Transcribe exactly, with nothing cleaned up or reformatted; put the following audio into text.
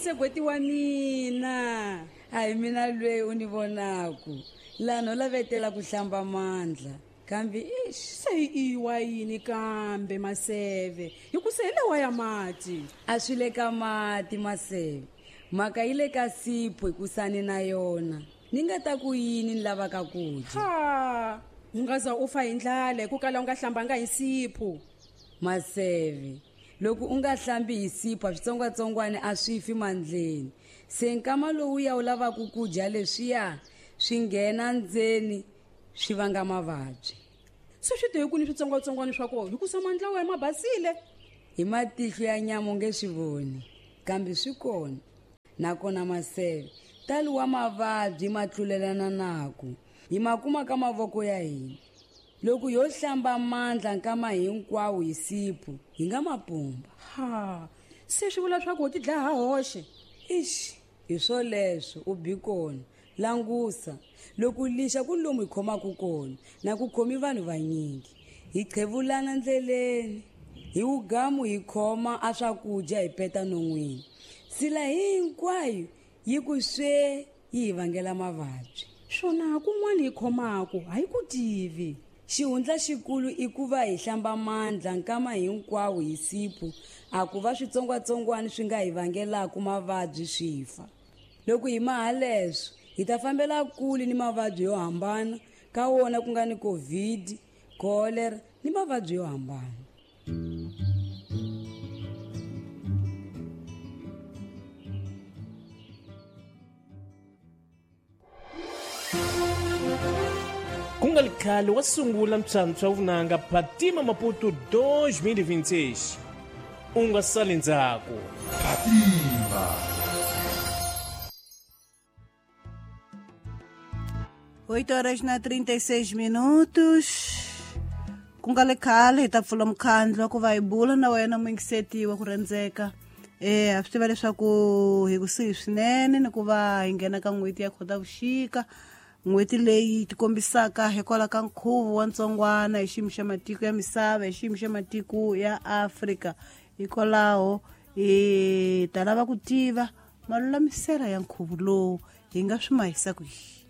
Masegweti wa mina. A hi mina lweyi u ni vonaku. Laha no lavetela ku hlamba mandla. Kambe ix, se i wa yini kambe Maseve? Hi ku se hi lawa ya mati. A swi le ka mati Maseve. Mhaka yi le ka sipho hi ku sani na yona. Ni nga ta ku yini ni lavaka ku dya? Ha, u nga za u fa hi ndlala hi ku kala u nga hlambanga hi sipho. Maseve, loko u nga hlambi hi sipho switsongwatsongwana a swi fi mandleni. Se nkama lowu ya u lavaka ku dya leswiya swi nghena ndzeni swi vanga mavabyi. Se swi te hi ku ni switsongwatsongwana swa kona hi ku sa mandla wa ma basile. Hi matihlo ya nyama u nge swi voni, kambe swi kona. Nakona Maseve, talo wa mavabyi ma tlulelana naku hi ma kuma ka mavoko ya hina. Loko yo hlamba mandla nkama hinkwawo hi sipho hi nga mapumba. Ha, se swi vula swa ku u ti dlaya hoxe. Ix, hi swoleswo u bi kona. Langusa, loko lixa ku lomu hi khomaka kona na ku khomi vanhu vanyingi. Hi qhevulana ndleleni, hi wugamu hi khoma a swakudya hi peta non'wini. Sila hinkwayo yi ku swe yi hi vangela mavabyi. Swona kun'wana hi khomaka a hi ku tivi. Xihundla xikulu i ku va hi hlamba mandla nkama hinkwawo hi sipho, a ku va switsongwatsongwana swi nga hi vangelaka mavabyi swi fa. Loko hi maha leswo, hi ta fambela kule ni mavabyi yo hambana, ka wona ku nga ni COVID, cholera ni mavabyi yo hambana. Ku nga ri khale wa sungula mphyamphya wa vunanga Phatima Maputo dois mil e vinte e seis. U nga sali ndzhaku. Phatima. Oito horas na trinta e seis minutos. Ku nga le khale hi ta pfula mukhandlu ku va hi bula na wena muyingiseti wa ku rhandzeka. Eh, a swi tiva leswaku hi kusuhi swinene ni ku va hi nghena ka n'hweti ya Khotavuxika. N'hweti leyi tikombisaka hikwalaho ka nkhuvo wa ntsongwana hi xiyimo xa matiko ya misava, hi xiyimo xa matiko ya Afrika. Hikwalaho hi ta lava ku tiva malulamiselo ya nkhuvo lowu hi nga swi mahisa ku yini.